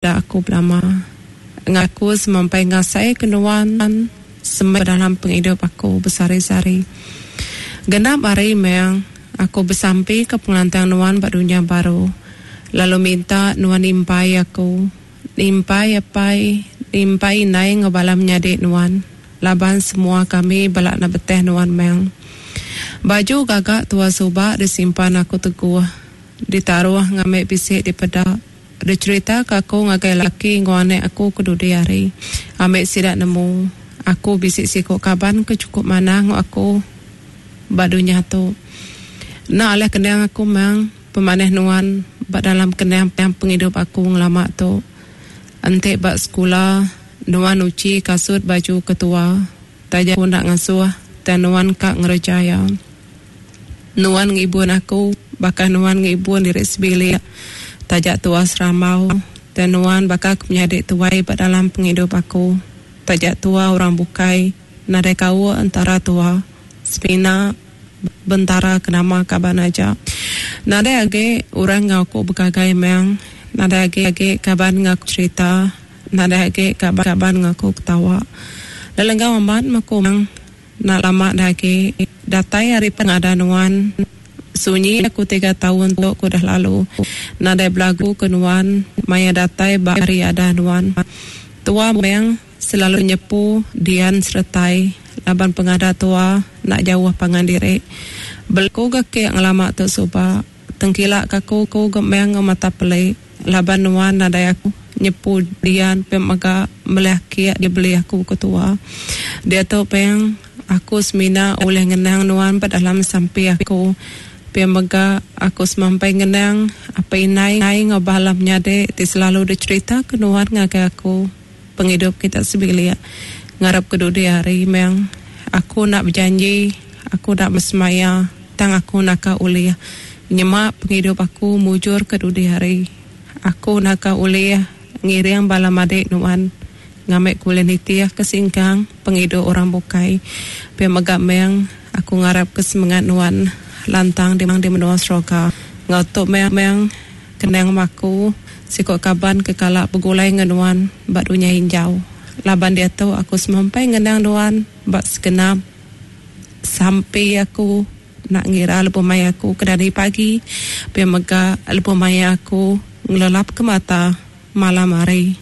Peda aku belama. Enggau aku semampai ngasai ke nuan semai dalam pengidup aku besehari-sehari. Genap hari meh aku besampi ke pengelantang nuan ba dunya baru lalu minta nuan nimpai aku, nimpai apai, nimpai indai enggau bala menyadi nuan laban semua kami bala enda beteh nuan meh. Baju gaga tua suba disimpan aku teguh, ditaruh ngambi bisi dipeda. Dicherita ka aku ngagai laki enggau anak aku ke dudi hari. Ambi sida nemu, aku bisi siku kaban ke chukup manah enggau aku ba dunya tu. Enda alih kenang aku mang pemanah nuan ba dalam kenang pengidup aku ngelama tu. Enti ba sekula, nuan uchi kasut baju ketua. Taja aku enda ngasuh, tang nuan ka ngereja iya. Nuan ngibun aku baka nuan ngibun diri sebilik. Taja tua serambau, tang nuan baka ke menyadi tuai ba dalam pengidup aku. Taja tua orang bukai, nadai kaul entara tua. Semina bentara ke nama kaban aja. Nadai agi orang enggau aku begagai meng, nadai agi agi kaban enggau aku cherita. Nadai agi kaban enggau aku ketawa. Lelenggau amat meh aku mang. Enda lama dah agi datai ari pengada nuan. Sunyi aku tiga taun tu ke udah lalu. Nadai belagu ke nuan maya datai ba hari ada nuan. Tua meng selalu nyepu dian seretai laban pengada tua enda jauh pangan diri. Belagu ga ke ngelama tu suba. Tengkila ka aku ku ga meng enggau mata peli laban nuan nadai aku nyepu dian pia mega melih kiak dibeli aku ke tua. Diatu peng aku semina ulih ngenang nuan ba dalam sampi aku. Pia mega aku semampai ngenang apai indai enggau bala menyadi ti selalu dicherita ke nuan ngagai aku pengidup kita sebilik. Ngarap ke dudi hari meng aku enda bejanji aku enda besemaya. Tang aku naka ulih nyema pengidup aku mujur ke dudi hari. Aku naka ulih ngiring bala madik nuan ngambi ku ulih nitih ke singkang pengidup orang bukai. Pia mega meng aku ngarap ke semengat nuan lantang di menua Seroga. Enggau tu meng kenang aku siku kaban ke kala begulai enggau nuan ba dunya injau. Laban diatu aku semampai ngenang nuan ba segenap. Sampi aku enda ngira lebuh maya aku ke dani pagi pia mega lebuh maya aku ngelelapka mata malam hari.